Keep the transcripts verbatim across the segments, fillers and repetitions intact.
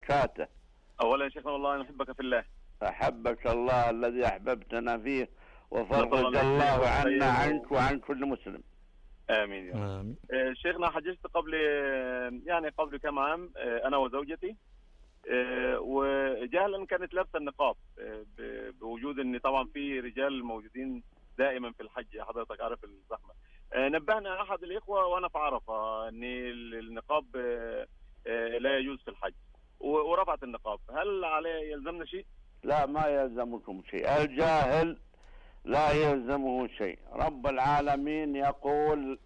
وبركاته. أولا يا شيخنا والله نحبك في الله. أحبك الله الذي أحببتنا فيه، وفرج الله عنا عنك وعن كل مسلم. آمين يا رب. آه شيخنا حجزت قبل يعني قبل كم عام آه أنا وزوجتي، آه وجهلا كانت لابسة النقاب، آه بوجود أن طبعا في رجال موجودين دائما في الحج، حضرتك عارف الزحمة. آه نبهنا أحد الإخوة وأنا في عرفة أن النقاب آه آه لا يجوز في الحج، ورفعت النقاب. هل عليه يلزمنا شيء؟ لا، ما يلزمكم شيء. الجاهل لا يلزمه شيء. رب العالمين يقول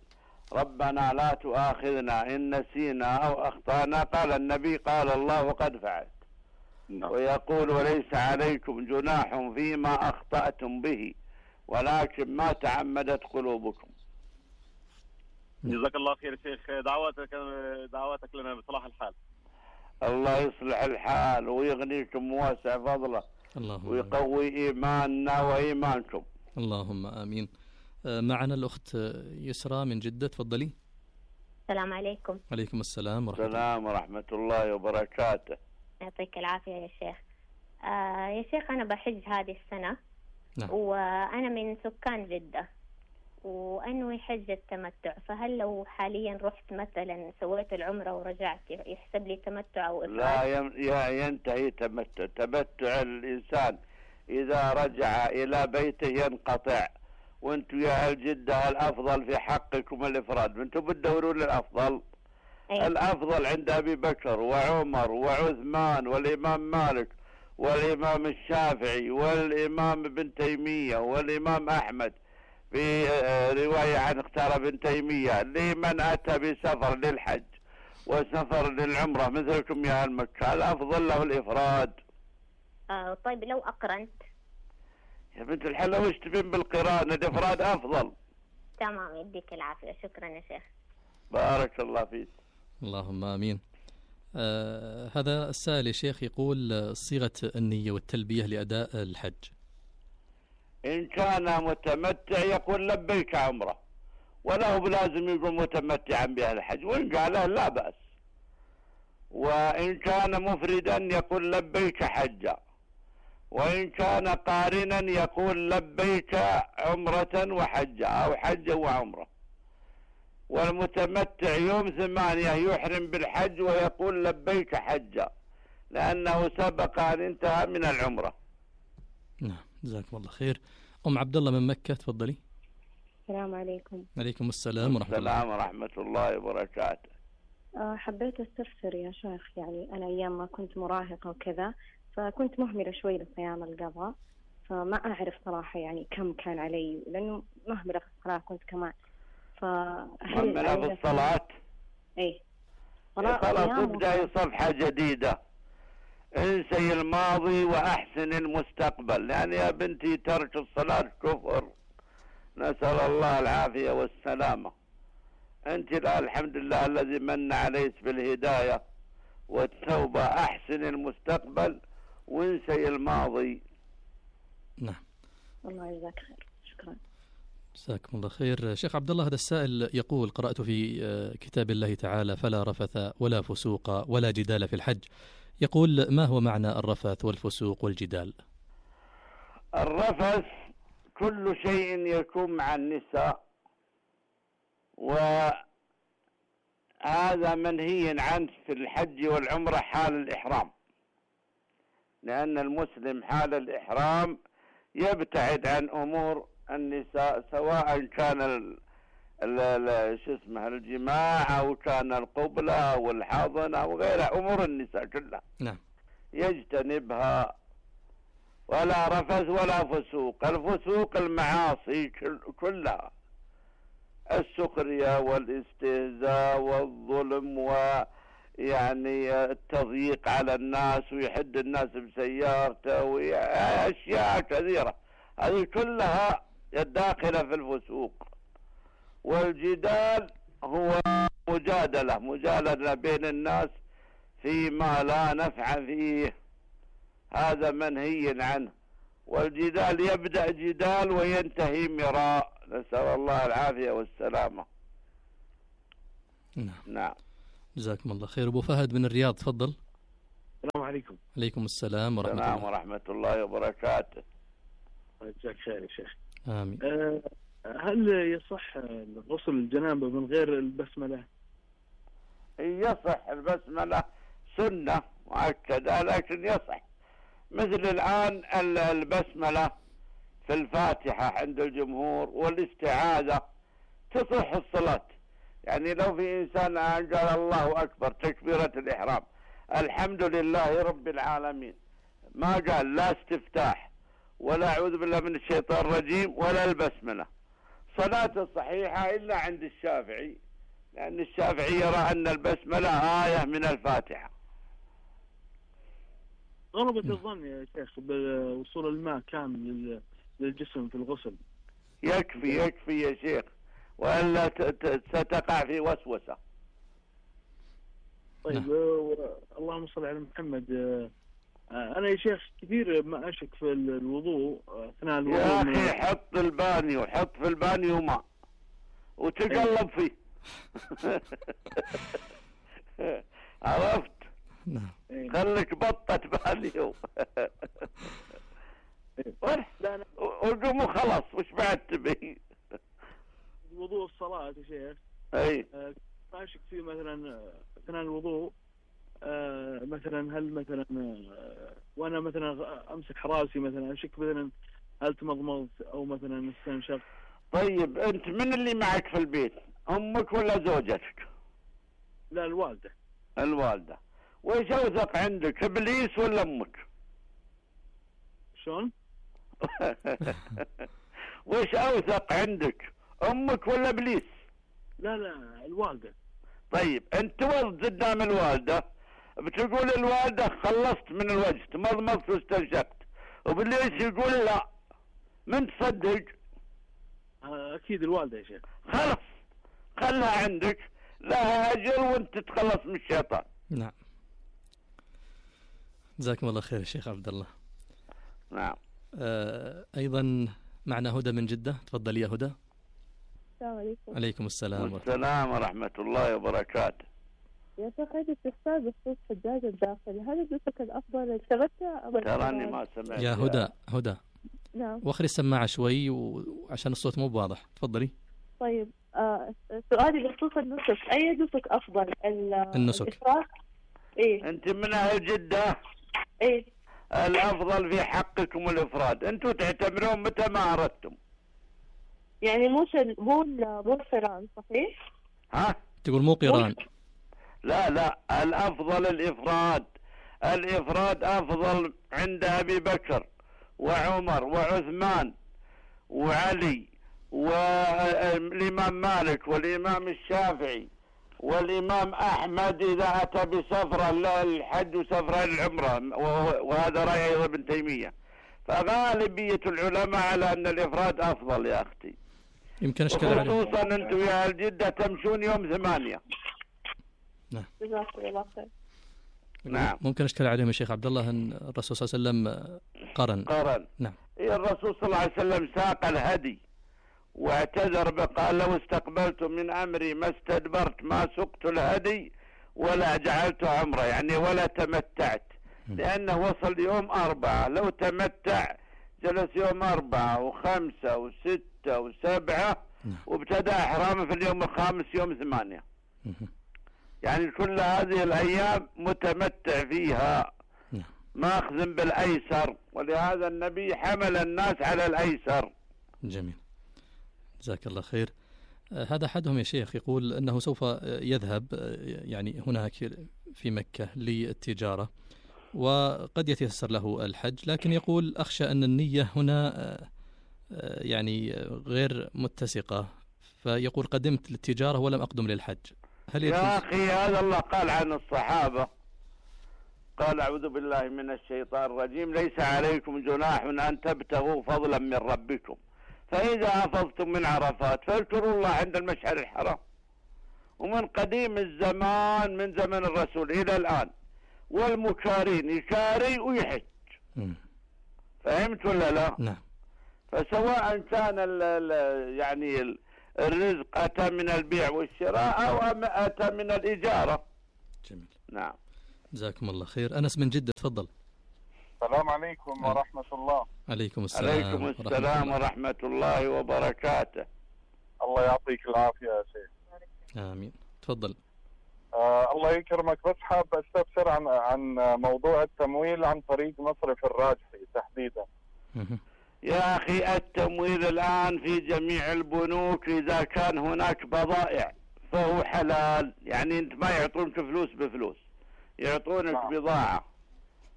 ربنا لا تؤاخذنا إن نسينا أو أخطأنا. قال النبي قال الله قد فعلت. ويقول وليس عليكم جناح فيما أخطأتم به ولكن ما تعمدت قلوبكم. جزاك الله خير شيخ. دعواتك دعواتك لنا بصلاح الحال. الله يصلح الحال ويغنيكم واسع فضله ويقوي إيماننا وإيمانكم. اللهم آمين. معنا الأخت يسرى من جدة، تفضلي. السلام عليكم. عليكم السلام ورحمة الله. السلام ورحمة الله وبركاته. يعطيك العافية يا شيخ. آه يا شيخ أنا بحج هذه السنة. نعم. وأنا من سكان جدة وأنوي حج التمتع، فهل لو حاليا رحت مثلا سويت العمرة ورجعت يحسب لي تمتع أو إفراد؟ لا ينتهي تمتع. تمتع الإنسان إذا رجع إلى بيته ينقطع. وانتم يا أهل جدة الأفضل في حقكم الإفراد، وانتم بتدورون للأفضل. أيه؟ الأفضل عند أبي بكر وعمر وعثمان والإمام مالك والإمام الشافعي والإمام ابن تيمية والإمام أحمد. في رواية عن اختار ابن تيمية لمن أتى بسفر للحج وسفر للعمرة مثلكم يا أهل مكة الأفضل له الإفراد. آه طيب لو أقرنت يا بنت الحلا وش تبين بالقران؟ الإفراد أفضل. تمام، يديك العافية. شكرا يا شيخ. بارك الله فيك. اللهم آمين. آه هذا السائل يا شيخ يقول صيغة النية والتلبية لأداء الحج. إن كان متمتع يقول لبيك عمره، وله بلازم يقول متمتعا بها الحج، وإن قاله لا بأس. وإن كان مفردا يقول لبيك حجا، وإن كان قارنا يقول لبيك عمرة وحجة أو حجة وعمرة. والمتمتع يوم ثمانية يحرم بالحج ويقول لبيك حجة لأنه سبق أن انتهى من العمرة. نعم، جزاكم الله خير. أم عبد الله من مكة، تفضلي. السلام عليكم. عليكم السلام ورحمة الله. السلام ورحمة الله وبركاته. أه حبيت استفسر يا شيخ، يعني أنا أيام ما كنت مراهقة وكذا فكنت مهملة شوي لصيام القضاء، فما أعرف صراحة يعني كم كان علي، لأنه مهملة في الصلاة كنت كمان. فهل مهملة في الصلاة؟ إيه خلاص تبدأ صفحة جديدة. انسي الماضي وأحسن المستقبل، يعني يا بنتي ترك الصلاة كفر، نسأل الله العافية والسلامة. أنت الآن الحمد لله الذي من عليك بالهداية والتوبة. أحسن المستقبل وانسي الماضي. نعم. الله يجزاك خير. شكرا. جزاكم الله خير. شيخ عبد الله، هذا السائل يقول قرأت في كتاب الله تعالى فلا رفث ولا فسوق ولا جدال في الحج. يقول ما هو معنى الرفث والفسوق والجدال؟ الرفث كل شيء يكون مع النساء، وهذا منهي عنه في الحج والعمرة حال الإحرام، لأن المسلم حال الإحرام يبتعد عن أمور النساء، سواء كان ال ال شو اسمه الجماع أو كان القبلة والحضن أو غيرها، أمور النساء كلها نعم يجتنبها. ولا رفث ولا فسوق. الفسوق المعاصي كلها، السخرية والاستهزاء والظلم ويعني التضييق على الناس ويحد الناس بسيارته وأشياء كثيرة، هذه كلها داخلة في الفسوق. والجدال هو مجادلة مجادلة بين الناس فيما لا نفع فيه، هذا منهي عنه. والجدال يبدأ جدال وينتهي مراء، نسأل الله العافية والسلامة. نعم. نعم. جزاكم الله خير. أبو فهد من الرياض، تفضل. السلام عليكم. عليكم السلام ورحمة السلام الله. ورحمة الله وبركاته. جزاك خير يا شيخ. آمين. أه هل يصح غسل الجنابة من غير البسملة؟ يصح البسملة سنة مؤكدة لكن يصح، مثل الآن البسملة في الفاتحة عند الجمهور والاستعاذة تصح الصلاة. يعني لو في إنسان قال الله أكبر تكبيرة الإحرام الحمد لله رب العالمين، ما قال لا استفتاح ولا أعوذ بالله من الشيطان الرجيم ولا البسملة، صلاة صحيحة إلا عند الشافعي، لأن الشافعي يرى أن البسملة آية من الفاتحة. غلبة الظن يا شيخ بوصول الماء كامل للجسم في الغسل. يكفي يكفي يا شيخ، وإلا ستقع في وسوسة. طيب آه اللهم صل على محمد. آه أنا يا شيخ كثير ما أشك في الوضوء أثناء الوضوء. يا أخي حط البانيو، حط في البانيو ماء وتقلب فيه. عرفت؟ نعم. خليك بطة بانيو. وقوم خلاص وش بعد تبي؟ وضوء الصلاة يا شيخ. اي آه ما أشك فيه مثلا أثناء الوضوء. آه مثلا هل مثلا آه وانا مثلا امسك راسي مثلا اشك مثلا هل تمضمضت او مثلا استنشق. طيب انت من اللي معك في البيت، امك ولا زوجتك؟ لا الوالده. الوالده. وش اوثق عندك، ابليس ولا امك؟ شلون؟ وش اوثق عندك، امك ولا ابليس؟ لا لا الوالده. طيب انت توض قدام الوالده بتقول الوالده خلصت من الوجه تمضمضت واستنشقت، وبالليل يقول لا، من تصدق؟ اكيد الوالده يا شيخ. خلص خلها عندك، لها اجر وانت تتخلص من الشيطان. نعم. جزاكم الله خير يا شيخ عبد الله. نعم. آه ايضا معنا هدى من جده، تفضل يا هدى. السلام عليكم. عليكم السلام والسلام ورحمة الله وبركاته. يا شيخ عندي استفسار بخصوص حجاج الداخل، هل النسك الأفضل التمتع أم تراني ما سمعت يا هدى؟ هدى نعم. وخري السماعة شوي وعشان الصوت مو واضح، تفضلي. طيب آه سؤالي بخصوص النسك، أي نسك أفضل؟ النسك. الإفراد؟ إيه. أنت من أهل جدة؟ إيه. الأفضل في حقكم الإفراد، أنتم تعتبرون متى ما أردتم. يعني مو مو مو القران صحيح؟ ها؟ تقول مو قران؟ لا لا الأفضل الإفراد، الإفراد أفضل عند أبي بكر وعمر وعثمان وعلي والإمام مالك والإمام الشافعي والإمام أحمد إذا أتى بسفرة للحج وسفرة للعمرة، وهذا رأي أيضا ابن تيمية. فغالبية العلماء على أن الإفراد أفضل يا أختي. يمكن أشكال عليه. خصوصا أنتم يا أهل جدة تمشون يوم ثمانية. نعم. جزاكم الله خير. نعم. ممكن أشكال عليهم يا شيخ عبد الله أن الرسول صلى الله عليه وسلم قرن. قرن. نعم. الرسول صلى الله عليه وسلم ساق الهدي واعتذر بقال لو استقبلت من أمري ما استدبرت ما سقت الهدي ولا جعلت عمره، يعني ولا تمتعت، لأنه وصل يوم أربعة، لو تمتع جلس يوم أربعة وخمسة وستة وسبعة وابتدأ إحرامه في اليوم الخامس يوم ثمانية. يعني كل هذه الأيام متمتع فيها ماخذ بالأيسر، ولهذا النبي حمل الناس على الأيسر. جميل، جزاك الله خير. هذا أحدهم يا شيخ يقول أنه سوف يذهب يعني هناك في مكة للتجارة وقد يتيسر له الحج، لكن يقول أخشى أن النية هنا يعني غير متسقة، فيقول قدمت للتجارة ولم أقدم للحج. هل يا أخي هذا الله قال عن الصحابة، قال أعوذ بالله من الشيطان الرجيم ليس عليكم جناح أن تبتغوا فضلا من ربكم فإذا أفضتم من عرفات فاذكروا الله عند المشعر الحرام. ومن قديم الزمان من زمن الرسول إلى الآن والمكارين يكاري ويحج. فهمت ولا لا؟ نعم. فسواء كان ال ال يعني ال الرزق أتى من البيع والشراء أو أتى من الإجارة. جميل. نعم. جزاكم الله خير. أنس من جدة، تفضل. السلام عليكم ورحمة الله. عليكم السلام. عليكم السلام ورحمة الله وبركاته. الله يعطيك العافية يا شيخ. آمين. تفضل. آه الله يكرمك، بس حاب استفسر عن عن موضوع التمويل عن طريق مصرف الراجحي تحديدا. يا أخي التمويل الآن في جميع البنوك إذا كان هناك بضائع فهو حلال، يعني أنت ما يعطونك فلوس بفلوس، يعطونك نعم. بضاعة،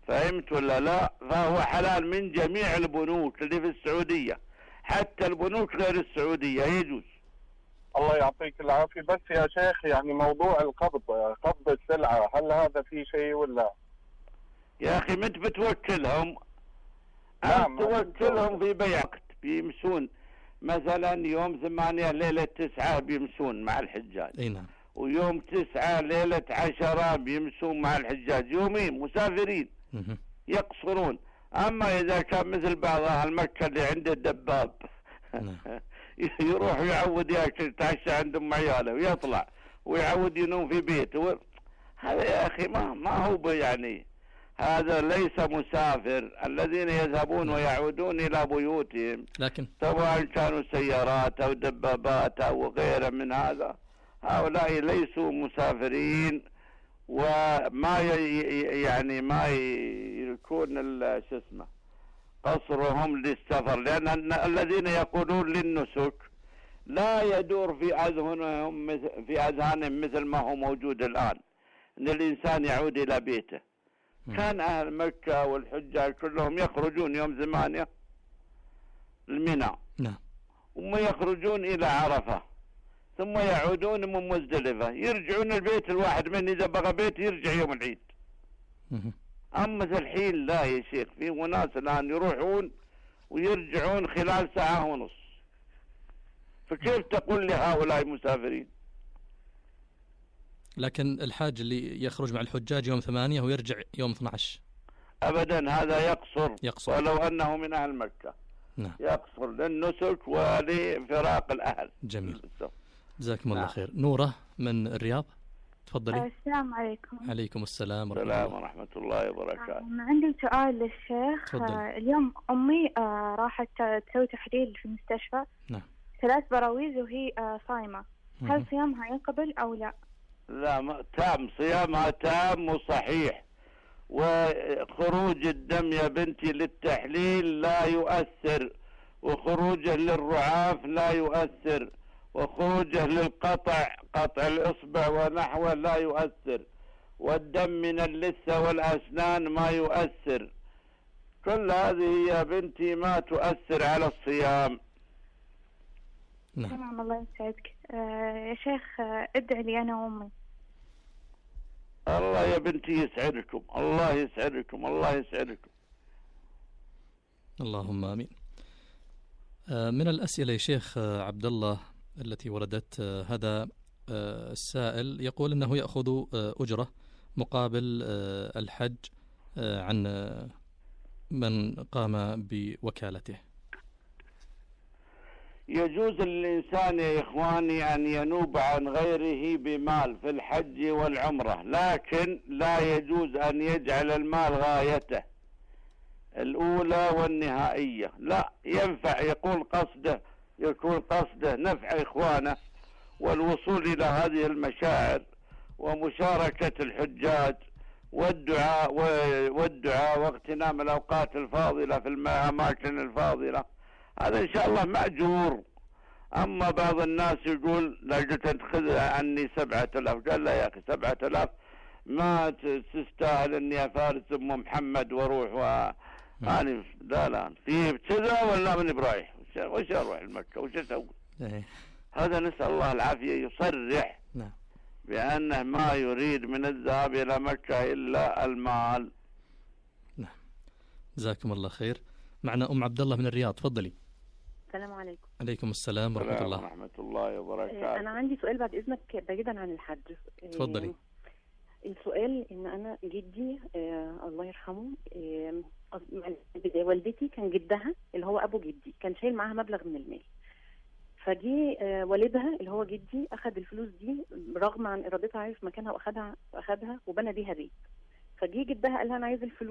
فهمت ولا لا؟ فهو حلال من جميع البنوك اللي في السعودية، حتى البنوك غير السعودية يجوز. الله يعطيك العافية. بس يا شيخ يعني موضوع القبض، قبض السلعة، هل هذا في شيء ولا؟ يا أخي مت بتوكلهم، نعم توكلهم في بيع وقت، بيمسون مثلا يوم ثمانية ليلة تسعة بيمسون مع الحجاج. اي نعم. ويوم تسعة ليلة عشرة بيمسون مع الحجاج، يومين مسافرين يقصرون. أما إذا كان مثل بعض أهل مكة اللي عنده دباب يروح يعود ياكل يتعشى عند أم عياله ويطلع ويعود ينوم في بيته، هذا يا أخي ما ما هو يعني، هذا ليس مسافر. الذين يذهبون ويعودون إلى بيوتهم لكن سواء كانوا سيارات أو دبابات أو غيره من هذا، هؤلاء ليسوا مسافرين، وما يعني ما يكون شو اسمه قصرهم للسفر، لأن الذين يقولون للنسك لا يدور في أذهانهم مثل في أذهانهم مثل ما هو موجود الآن، أن الإنسان يعود إلى بيته. م. كان أهل مكة والحجاج كلهم يخرجون يوم ثمانية المنى، نعم، ثم يخرجون إلى عرفة، ثم يعودون من مزدلفة، يرجعون البيت الواحد من إذا بغى بيت يرجع يوم العيد. م. أما الحين لا يا شيخ، في ناس الآن يروحون ويرجعون خلال ساعة ونص، فكيف تقول لهؤلاء مسافرين؟ لكن الحاج اللي يخرج مع الحجاج يوم ثمانية ويرجع يوم اثني عشر أبدا هذا يقصر, يقصر. ولو أنه من أهل مكة. نعم. يقصر للنسك ولفراق الأهل. جميل، جزاكم الله خير. نورة من الرياض، تفضلي. السلام عليكم. عليكم السلام ورحمة الله. الله. ورحمة الله وبركاته. عندي سؤال للشيخ. تفضلي. اليوم أمي راحت تسوي تحليل في المستشفى. نعم. ثلاث براويز وهي صايمة، هل صيامها ينقبل أو لا؟ لا، ما تام، صيامها تام وصحيح، وخروج الدم يا بنتي للتحليل لا يؤثر، وخروجه للرعاف لا يؤثر، وخروجه للقطع قطع الإصبع ونحوه لا يؤثر، والدم من اللثة والأسنان ما يؤثر. كل هذه يا بنتي ما تؤثر على الصيام. نعم. تمام، الله يسعدك. آه يا شيخ، آه ادعي لي أنا وأمي. الله يا بنتي يسعدكم، الله يسعدكم، الله يسعدكم. اللهم آمين. آه من الأسئلة يا شيخ آه عبد الله التي وردت، آه هذا آه السائل يقول أنه يأخذ آه أجرة مقابل آه الحج آه عن آه من قام بوكالته. يجوز للإنسان يا إخواني أن ينوب عن غيره بمال في الحج والعمرة، لكن لا يجوز أن يجعل المال غايته الأولى والنهائية. لا، ينفع يقول قصده يكون قصده نفع إخوانه والوصول إلى هذه المشاعر ومشاركة الحجاج والدعاء والدعاء واغتنام الأوقات الفاضلة في الأماكن الفاضلة، هذا إن شاء الله مأجور. أما بعض الناس يقول لا قلت تأخذ عني سبعة آلاف، قال لا يا أخي سبعة آلاف ما تستاهل إني أفارس أم محمد وأروح و يعني لا لا في كذا ولا من برايح وش أروح المكة وش أسوي؟ هذا نسأل الله العافية. يصرح نعم بأنه ما يريد من الذهاب إلى مكة إلا المال. نعم، جزاكم الله خير. معنا أم عبد الله من الرياض، تفضلي. السلام عليكم. عليكم السلام ورحمة الله. ورحمة الله وبركاته. أنا عندي سؤال بعد إذنك بعيدا عن الحج. تفضلي. السؤال إن أنا جدي آه الله يرحمه، آه والدتي كان جدها اللي هو أبو جدي كان شايل معاها مبلغ من المال، فجي آه والدها اللي هو جدي أخذ الفلوس دي رغم عن إرادتها، عارف مكانها وأخذها أخذها وبنى بيها بيت. فجي جدها قال لها انا عايز الفلوس